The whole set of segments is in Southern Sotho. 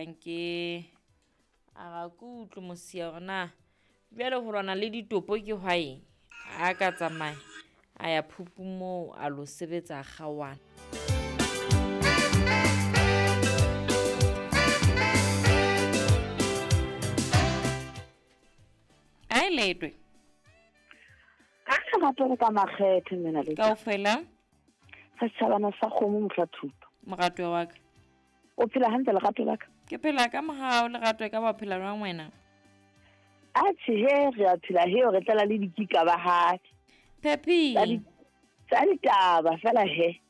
Danke. A ga ke utlwe mosia gore na bjale go lwana le ditopo ke hwaeng a ka tsamaya a ya phupu moo a lo sebetsa a kgaoana. A e letwe. Ka lerato le ka makgethe mena le kaofela. Sa setšhabana sa kgomo mohla thuto. Moratuwa wa ka. O phela hantle lerato la ka? Ke phela ka mogao lerato, e ka ba phela jwang wena? Atjhe he, re a phela he, re tlala le dikika ba hae. Pepi. Tsa ditaba fela he.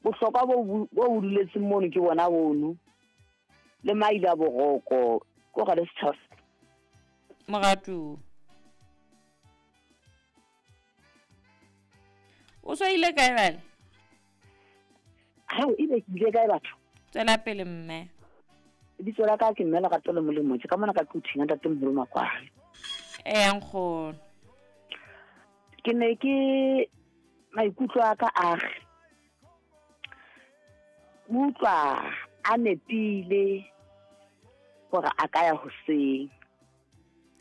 Bohlokwa bo bo duletseng mono ke bona bono. Le maila boroko, ko ga le setšhaba. Moratuwa. O so ile kae bale? Hao, ebe ke ile kae batho? Tswela pele mme. Lebitso la ka ke mme Lerato le Molemo, ke ka mona ka Quthing ntate moholo Makwale. Ee nkgono. Ke ne ke maikutlo a ka a re utlwa a nepile gore a ka ya hoseng.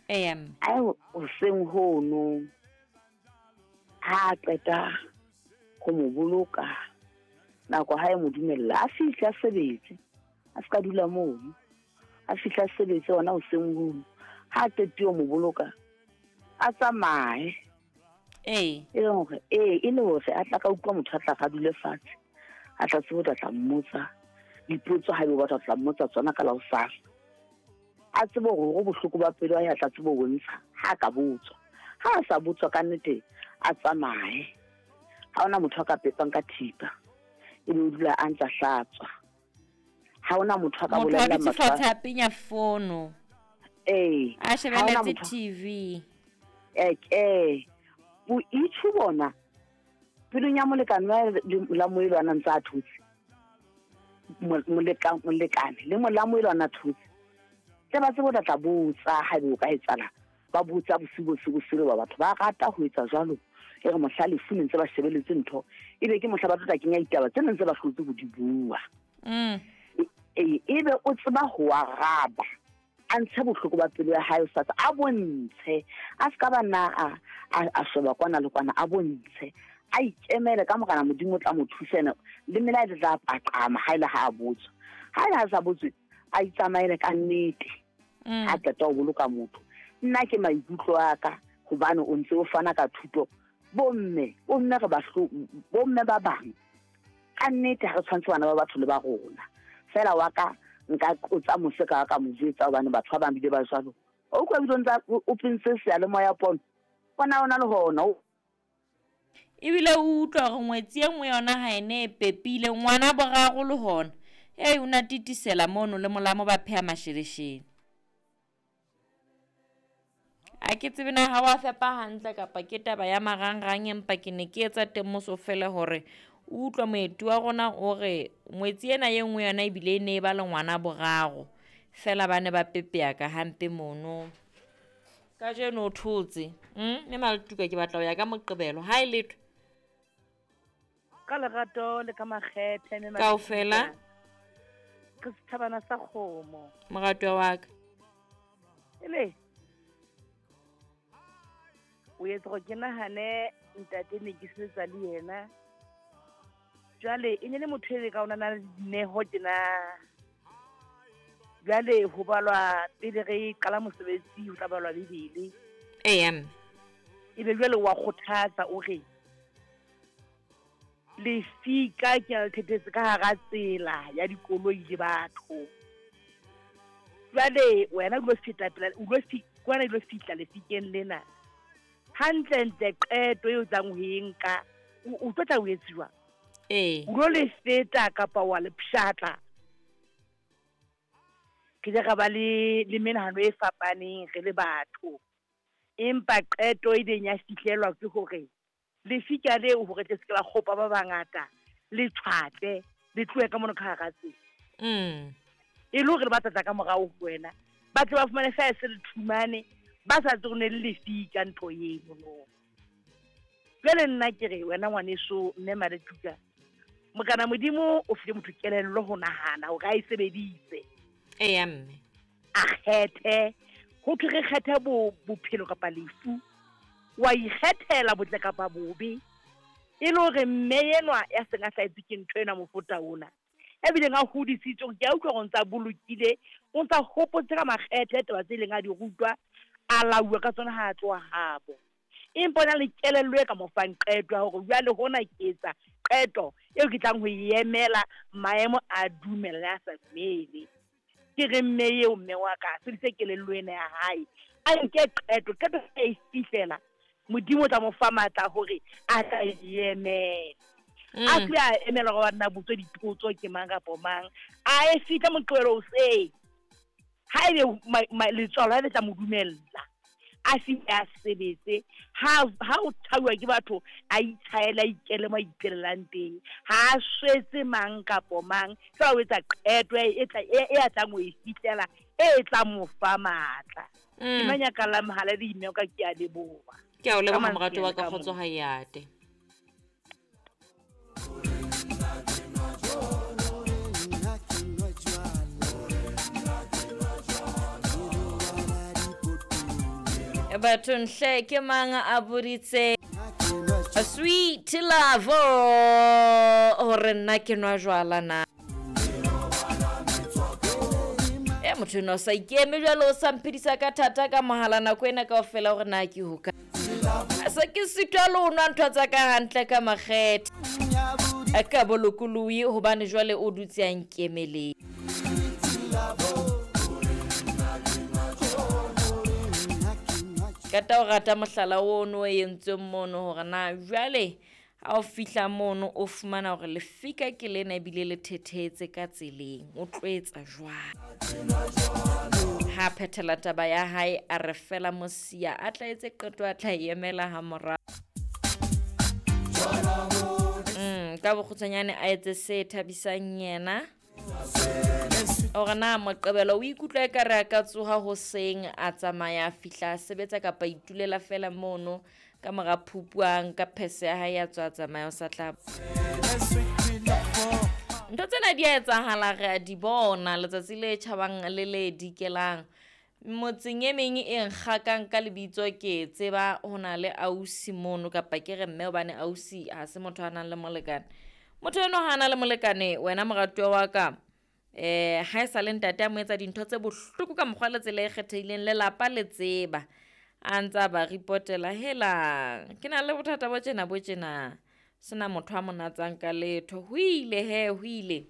Ee mme. A ye hoseng hono. Ha a qeta go mo boloka nako ha e mo dumella a fihle a sebetse, a se ka dula mono, a fihle a sebetse hona hoseng hono. Ha a qetile ho mo boloka a tsamaye. Ee. E le hore ee, e le hore a tla ka utlwa motho a tla ka dule fatshe, a tla tsebe ho tla mmotsa dipotso ha ebe o batla ho tla mmotsa tsona ka la hosasa. A tsebe hore hore bohloko ba pelo ya tla tsebe ho bontsha ha ka botswa. Ha a sa botswa ka nnete a tsamaye. Ha hona motho a ka pepang ka thipa, ebe o dula a ntsa hlatswa. Ha hona motho a ka Motho a bolellang dutse batho ba fatshe a penya fono. Ee. A Ha hona shebeletse motho TV. Ee. Boitjho bona pelong ya molekane wa la moelo a ntse a thotse. Molekane le mola moelo a thotse. Tle ba tsebe ho tla botsa ha ebe o ka etsahala. Ba botsa bosiu bo se bo sele ba batho ba rata ho etsa jwalo. E re mohla lefu ne ntse ba shebeletse ntho, ebe ke mohla ba tlo tla kenya ditaba tse neng tse ba hlotse ho di bua. Ee, ebe o tseba ho araba, a ntshe bohloko ba pelo ya hae o sa a bontshe, a se ka ba na a sheba kwana le kwana, a bontshe, a ikemele ka morena Modimo o tla mo thusa ena le mela e tla paqama ha ile ha a botswa. Ha ile ha sa botswe, a itsamaele ka nnete. Ha qeta ho boloka motho. Nna ke maikutlo a ka hobane o ntse o fana ka thuto. Bomme, bomme re ba bomme ba bang ka nnete ha re tshwantse bana ba batho le ba rona. Fela wa ka nka qotsa mose ka ka mo jwetsa hobane batho ba bang bile ba jwalo. O utlwa ebile o ntsa o pentse seyalemoya pono. Bona ona le hona. Ebile o utlwa hore ngwetsi e nngwe yona ha ene e pepile ngwana boraro le hona. Ei, o na titisela mono le molamo ba pheha masheleshele. A ke tsebe na ha wa fepa hantle kapa ke taba ya marangrang, empa ke ne ke etsa temoso fela hore o utlwa moeti wa rona o re ngwetsi ena e nngwe yona ebile e ne e ba le ngwana boraro. Fela ba ne ba pepea ka hampe mono. Kajeno o thotse. Mme Maletuka ke batla ho ya ka Moqebelo. Ha e letho. Ka lerato le ka makgethe mme Kaofela. Re setjhabana sa kgomo. Moratuwa wa ka. Ele. O etsa hore ke nahane ntate ne ke sebetsa le yena. Jwale e ne le motho e ka ona na le dineho tjena. Jwale ho balwa pele re qala mosebetsi ho tla balwa Bibele. Ee mme. Ebe jwale wa kgothatsa o re lefika ke a le thethetse ka hara tsela ya dikoloi le batho. Jwale wena o lo feta pela, o lo kwana o lo fihla lefikeng lena. Hantlentle qeto eo tlang ho e nka, o tlo tla o etsiwa. Ee. O lo le feta kapa wa le pshatla. Ke ile ra ba le menahano e fapaneng re le batho. Empa qeto e ileng ya fihlelwa ke hore lefika leo hore tle se ke la kgopa ba bangata, le tshwatle, le tlohe ka mono ka hara tsela. E le hore le ba tla tla ka morao ho wena, ba tle ba fumane fa se le thumane, ba sa tsebe ne le lefika ntho eno no. Jwale nna ke re wena ngwaneso mme Maletuka, mokana Modimo o file motho kelello ho nahana hore a e sebedise. Eya mme. A kgethe, ho thwe re kgethe bophelo kapa lefu. Wa ikgethela botle kapa bobe. E le hore mme enwa ya seng a hlahetswe ke ntho ena mofuta ona, ya bileng a hodisitswe, hore ke a utlwa hore o ntsa bolokile, o ntsa hopotse ka makgethe taba tse ileng a di rutwa, a lauwa ka tsona ha a tloha habo. Empa o na le kelello e ka mo fang qeto ya hore jwale hona ke etsa qeto eo ke tlang ho e emela, maemo a dumela le a sa dumele. Ke re mme eo, mme wa ka, a sebedise kelello ena ya hae, a nke qeto, qeto a e fihlela, Modimo o tla mo fa matla hore a tla e emela. A se a emela hore ba nna botswe dipotso ke mang kapa mang, a e fihle Moqebelo hoseng. Ha ebe letswalo ha le tla mo dumella, a fihle a sebetse. Ha o tshauwa ke batho, a itshaele, a ikele mo a ipelelang teng. Ha a swetse mang kapo mang, fela o etsa qeto e a tlang ho e fihlela, e tla mo fa matla. Ke mang ya ka la mohala le email ka, ke a leboha. Ke a o leboha morato wa ka, kgotso ha e ate. Bathong hle, ke mang a boditse Sweet Love hore nna ke nwa jwala na? E motho eno o sa ikeme jwale, o sa mphedisa ka thata ka mohala nako ena kaofela hore na ke hoka. Se ke sitwa le ho nwa ntho tsa ka hantle ka makgethe ka bolokolohi, hobane jwale o dutse a nkemeleng. Qeta o rata mohlala ono o entsweng mono hore na jwale ha o fihla mono o fumana hore lefika ke lena ebile le thethetse ka tseleng, o tlo etsa jwang? Ha phethela taba ya hae, a re fela mosia a tla etse qeto, a tla e emela ha morao. Ka bokgutshwanyane a etse se thabisang yena. Hore na Moqebelo o ikutlwa ekare a ka tsoha hoseng a tsamaya a fihla a sebetsa kapa a itulela fela mono ka mora phupu, a nka phese ya hae a tswa a tsamaya o sa tla. Ntho tsena di a etsahala, re a di bona letsatsi le tjhabang le le dikelang. Motseng e meng e nkgakang ka lebitso ke tseba ho na le ausi mono, kapa ke re mme hobane ausi ha se motho a nang le molekane. Motho eno ha na le molekane, wena moratuwa wa ka, ha e sa le ntate a mo etsa dintho tse bohloko ka mokgwa le tsela e kgethehileng, lelapa le tseba, a ntsa ba ripotela, helang ke na le bothata bo tjena bo tjena, sena motho a mo natsang ka letho. Ho ile he, ho ile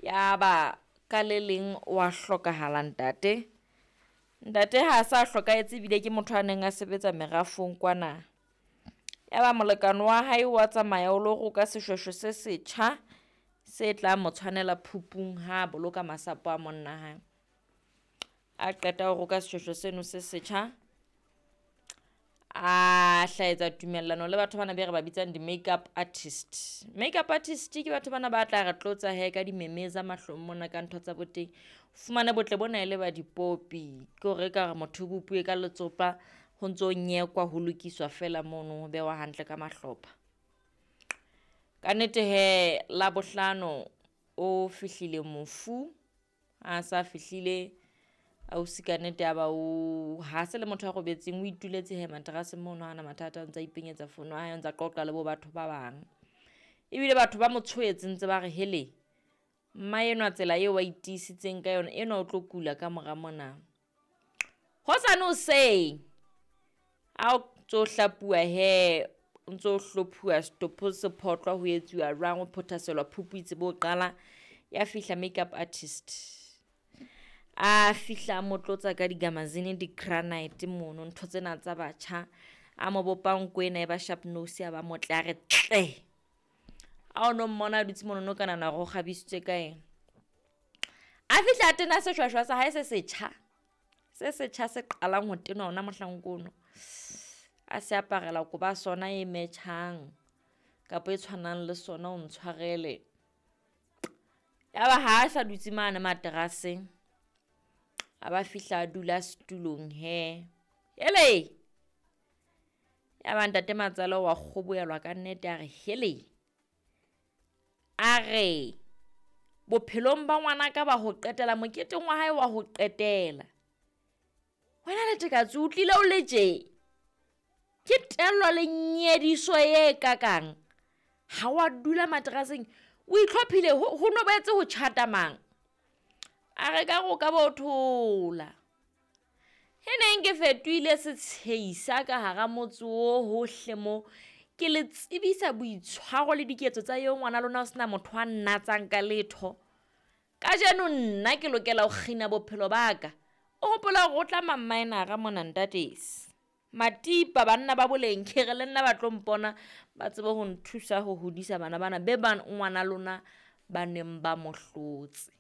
ya ba ka le leng wa hlokahala ntate. Ntate ha sa hlokahetse ebile ke motho a neng a sebetsa merafong kwana. Ya ba molekane wa hae wa tsamaya o lo roka seshweshwe se setjha se tla mo tshwanela phupung ha boloka masapo a monna hae. A qeta ho roka seshweshwe seno se setjha, a hlaetsa tumellano le batho bana be re ba bitsang di-makeup artist. Makeup artist ke batho bana ba tla re tlotsa he ka dimemeza mahlong mona ka ntho tsa boteng. Fumane botle bona e le ba dipopi, ke hore ka re motho o bopuwe ka letsopa, ho ntso nyekwa ho lokiswa fela mono, ho bewa hantle ka mahlopha. Ka nnete he, Labohlano o fihlile mofu, a sa fihlile ausi ka nnete ya ba o ha se le motho a robetseng, o ituletse he materaseng mono, ha ana mathata, o ntsa ipenyetsa fono ya hae, o ntsa qoqa le bo batho ba bang. Ebile batho ba mo tshohetse ntse ba re hele, mma enwa tsela eo a itiisitseng ka yona, enwa o tlo kula ka mora mona. Hosane hoseng ha o ntso hlapuwa he, o ntso hlophuwa setopho se photlwa ho etsuwa jwang, o phothaselwa phupu itse bo qala, ya fihla makeup artist. A fihla a mo tlotsa ka digamazine, di-granite mono, ntho tsena tsa batjha. A mo bopa nko ena e ba sharp nose, a ba motle, a re tle. A o no mmona a dutse mono, no ka nahana hore o kgabisitswe ka eng. A fihla a tena seshweshwe sa hae se setjha, se setjha se qalang ho tenwa hona mohlanka ono. A se aparela koba sona e metjhang kapa e tshwanang le sona, o ntshwarele. Ya ba ha a sa dutse mane materaseng, a ba fihla a dula setulong he. Hele! Ya ba ntate Matsale wa kgobohelwa ka nnete, a re hele! A re Bophelong ba ngwanaka ba ho qetela, moketeng wa hae wa ho qetela. Wena Letekatse o tlile o le tje. Ke tello le nyediso e kakang. Ha wa dula materaseng, o itlhophile ho no boetse ho tjhata mang. A re ka go ka bo thola. E neng ke fetohile setsheisa ka hara motse o hohle mo. Ke le tsebisa boitshwaro le diketso tsa eo ngwana lona o sena motho a nnatsang ka letho. Kajeno nna ke lokela ho kgina bophelo ba ka. O hopola hore o tla mammaenara mona ntatesi. Matipa banna ba boleng ke re le nna ba tlo mpona ba tsebe ho nthusa ho hodisa bana bana be ba ngwana lona ba neng ba mo hlotse.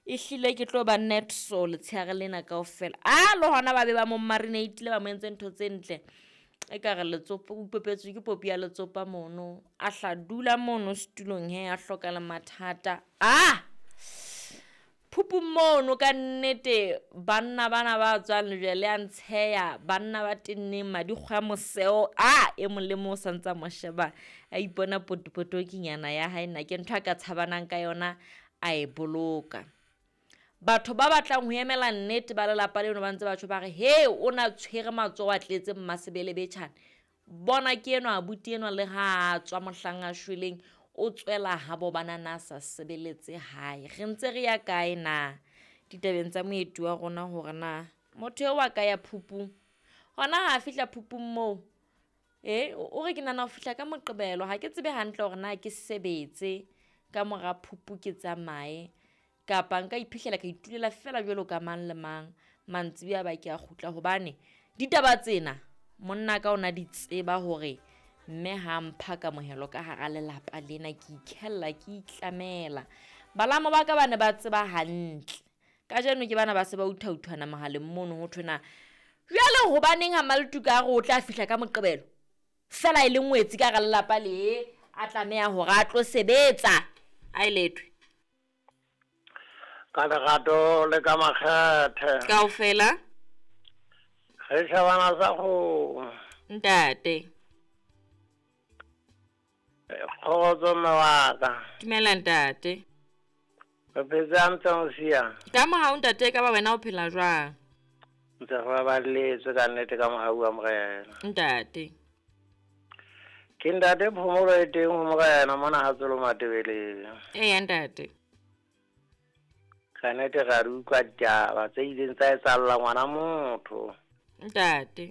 Ehlile ke tlo ba net so letsheare lena kaofela. A le hona ba be ba mo marinate-ile ba mo entse ntho tse ntle. Ekare letsopa o ipopetswe ke popi ya letsopa mono. A hla dula mono setulong he a hloka le mathata. Ah! Phupung mono ka nnete banna bana ba tswang lejwe le a ntsheya, banna ba tenneng madikgwe a moseo. Ah! E mong le mong o sa ntsa mo sheba a ipona potopotokinyana ya hae nna ke ntho a ka tshabanang ka yona a e boloka. Batho ba batlang ho emela nnete ba lelapa leno ba ntse ba tjho ba re he o na tshwere matsoho a tletse mmasebele betjhane. Bona ke enwa abuti enwa le ha a tswa mohlang a shweleng o tswela habo bana na sa sebeletse hae. Re ntse re ya kae na ditabeng tsa moeti wa rona hore na motho eo a ka ya phupung. Hona ha a fihla phupung moo o re ke nahana ho fihla ka Moqebelo ha ke tsebe hantle hore na ke sebetse ka mora phupu ke tsamaye kapa nka iphihlela ka itulela fela jwalo ka mang le mang mantsibuya ba ke a kgutla hobane ditaba tsena monna ka ona di tseba hore mme ha mpha kamohelo ka hara lelapa lena ke ikhella ke itlamela. Balamo ba ka ba ne ba tseba hantle. Kajeno ke bana ba se ba uthauthwana mohaleng mono ho thwe na jwale hobaneng ha Maltuka a re o tla fihla ka Moqebelo fela e le ngwetsi ka hara lelapa le a tlameha hore a tlo sebetsa a e lethwe. Ka lerato le ka makgethe. Kaofela. Re shabana sa go. Ntate. Kgotso mme wa ka. Dumela ntate. Re phetse hantle mosia. Ka mohau ntate ka ba wena o phela jwang? Ntse re baballetswe ka nnete ka mohau wa Morena. Ntate. Ke ntate phomolo e teng ho Morena mona ha tsolo Matebeleng. Eya ntate. Ka nnete ra di utlwa ditaba tse ileng tsa etsahalla ngwana motho. Ntate.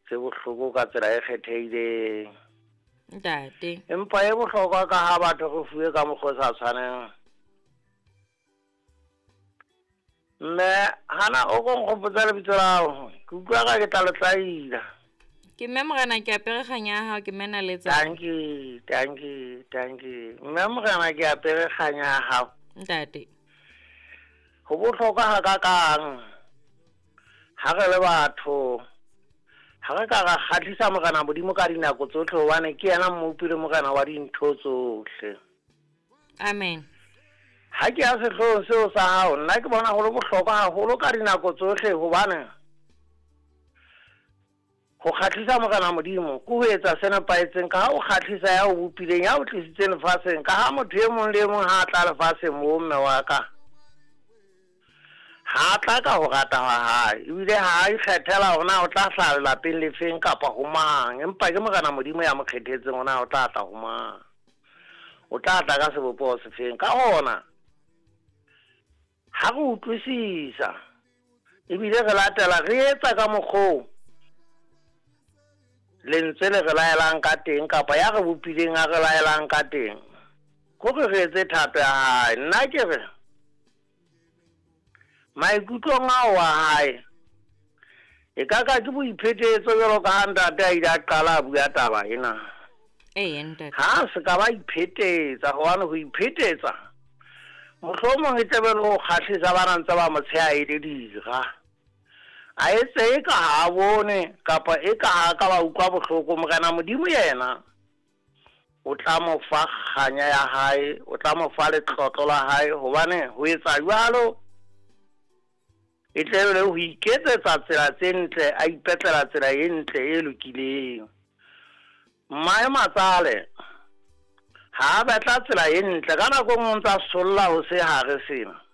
Tse bohloko ka tsela e kgethehileng. Ntate. Empa e bohlokwa ka ha batho re fuwe ka mokgwa o sa tshwaneng. Mme hana o ko nkgopotsa lebitso la hao, ke utlwa ka ke tla le tlaila. Ke mme Morena ke apere kganya ya hao, ke mme Naletsa. Thank you, thank you, thank you. Mme Morena ke apere kganya ya hao. Ntate. Ho bohlokwa hakakang ha re le batho ha re ka ra kgahlisa Morena Modimo ka dinako tsohle hobane ke yena mmopi le Morena wa dintho tsohle. Amen. Ha ke ya sehloohong seo sa hao, nna ke bona ho le bohlokwa haholo ka dinako tsohle hobane ho kgahlisa Morena Modimo ke ho etsa se nepahetseng ka ha o kgahlisa ya o bopileng, ya o tlisitseng lefatsheng, ka ha motho e mong le e mong ha a tla lefatsheng moo mme wa ka ha tla ka ho rata ha hae, ebile ha a ikgethela hore na o tla hlaha lelapeng lefeng kapa ho mang, empa ke Morena Modimo ya mo kgethetseng hore na o tla tla ho mang, o tla tla ka sebopeho sefeng. Ka hona ha re utlwisisa ebile re latela re etsa ka mokgwa lentswe le re laelang ka teng kapa ya re bopileng a re laelang ka teng, hore re etse thato ya hae. Nna ke re maikutlong ao a hae e ka ka ke boiphetetso jwalo ka ha ntate a ile a qala a bua taba ena. Ee ntate. Ha se ka ba iphetetsa hobane ho iphetetsa mohlomong e tlabe le ho kgahlisa ba ntse ba mo tsheha e le dira. A etse e ka ha bone kapa e ka ha ka ba utlwa bohloko. Morena Modimo yena o tla mo fa kganya ya hae, o tla mo fa letlotlo la hae, hobane ho etsa jwalo e tle le ho iketsetsa tsela tse ntle, a ipetlela tsela e ntle e lokileng. Mmae matsale Ha a batla tsela e ntle, ka nako e nngwe o ntsa solla ho se hare sena.